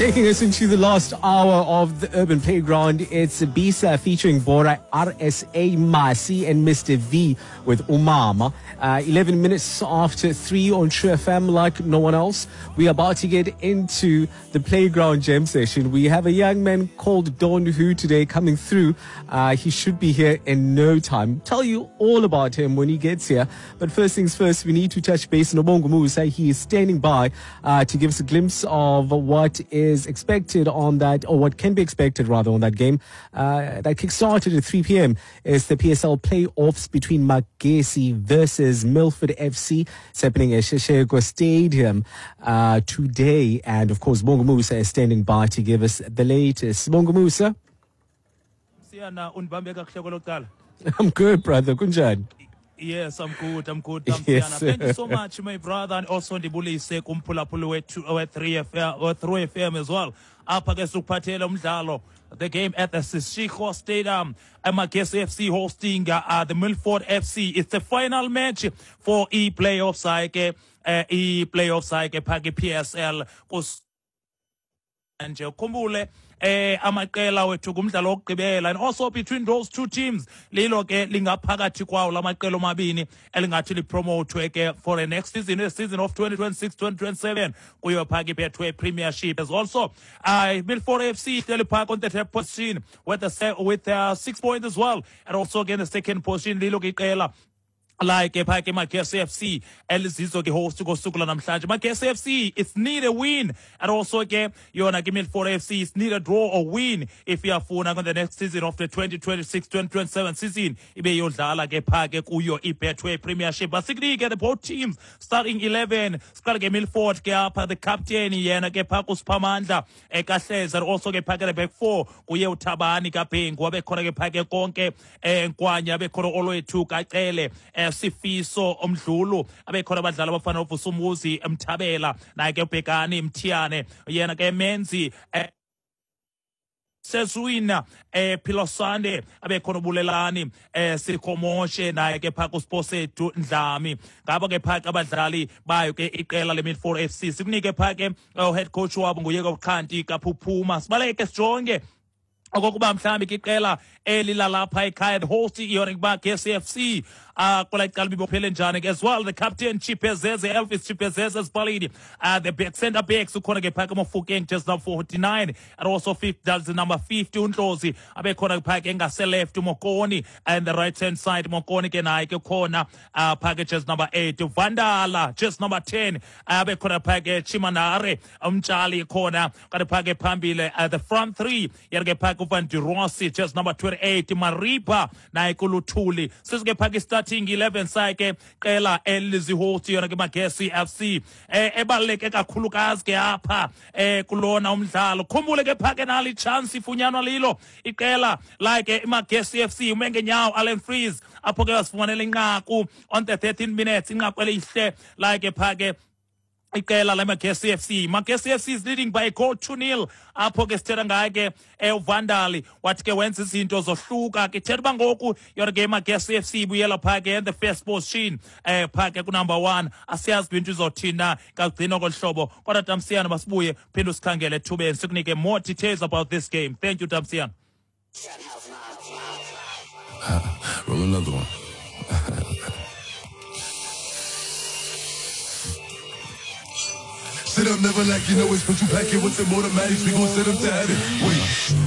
Taking us into the last hour of the Urban Playground, it's Bisa featuring Bora, RSA, Masi, and Mr. V with Umama. 11 minutes after 3 on True FM, like no one else. We are about to get into the Playground Jam session. We have a young man called Don Hu today coming through. He should be here in no time. Tell you all about him when he gets here. But first things first, we need to touch base on Nobongo Musa. He is standing by to give us a glimpse of what is expected on that, or what can be expected rather, on that game that kick-started at 3 p.m. It's the PSL playoffs between Magesi versus Milford FC. It's happening at Seshego Stadium today. And of course, Bongo Musa is standing by to give us the latest. Bongo Musa. I'm good, brother. Kunjani? Yes, I'm good. I'm good. Yes. Thank you so much, my brother, and also ndibulise kumphulaphuli wethu we-3 FM as well. Apha ke sikuphathele umdlalo, the game at the Seshego Stadium, Magesi FC hosting the Milford FC. It's the final match for e-playoffs ke e-playoffs ke pha ke PSL. Nje ukhumbule amaqela wethu kumdlalo wokugqibela, and also between those two teams lilo ke lingaphakathi kwawo lamaqela omabini elingathi lipromote ke for the next season, the season of 2026-2027 kuyo pha ke Betway Premiership. As also Milford FC ihleli pha on the third position with 6 points as well, and also again the second position lilo ke iqela like pha ke Magesi FC elizizo ke host ngosuku lanamhlanje. Magesi FC, it's need a win, and also ke yona ke Milford FC, it's need a draw or win if iyafuna on the next season of the 2026-2027 season ibe yodlala ke pha ke kuyo iBetway Premiership. Basikunike the both teams starting 11. Siqale ke Milford ke apha the captain yena ke pha kuSiphamandla ekahleza, and also ke pha ke the back four kuye uThabani kaBhengu, abekhona ke pha ke konke Nkwanya, abekhona Olwethu Kacele, Sifiso Omdlulu, abekhona abadlali abafana noVusumuzi Mthabela, naye ke uBhekani Mthiyane, yena ke Menzi Sezwina Philosande, abekhona uBulelani Sikhomoshe, naye ke pha kuSiphosethu Ndlami. Ngabo ke pha abadlali bayo ke iqela leMilford FC. Sikunike pha ke head coach wabo nguye Xhanti Kaphuphuma. Sibaleke sijonge okokuba mhlawumbi ke iqela elilalapha ekhaya, the host yona Magesi FC, kula icala bibophele njani as well. The captain Chipezeze, Elvis Chipezeze Spalidi, the back center backs ukhona ke phaka Mofokeng just number 49, and also that's number 50 uNdlozi, abekhona phaka engase left Mokoni, and the right hand side Mokoni ke naye ke khona phaka just number 8 Vandala, just number 10 abekhona phaka Chimanare Umtshali khona kanti phaka phambili the front three yena ke phaka Van de Rossi just number 28 Mariba naye kuluthuli. Sisuke phaka starting 11 sakhe qela elizihost yona ke Magesi FC ebaluleke kakhulukazi ke apha kulona umdlalo. Khumbule ke phake nali chance ifunyanwa lilo iqela like iMagesi FC umengenyawo Allen Freeze apho ke wasifumanela inqaku on the 13 minutes, inqaku elihle like phake iqela leMagesi FC. Magesi FC is leading by a goal 2-0. Apho ke sithetha ngaye ke uVandali wathi ke wenza izinto zohluka ke thetha uba ngoku yona ke Magesi FC ibuyela pha ke in the first position pha ke ku number 1. Asiyazi into izothina kagcina kohlobo, kodwa Tamsiyana masibuye phinde usikhangele ethubeni sikunike more details about this game. Thank you, Tamsiyana. Roll another one. Sit up, never like you know it's, but you pack it with some automatics, we gon' send them to heaven. Wait.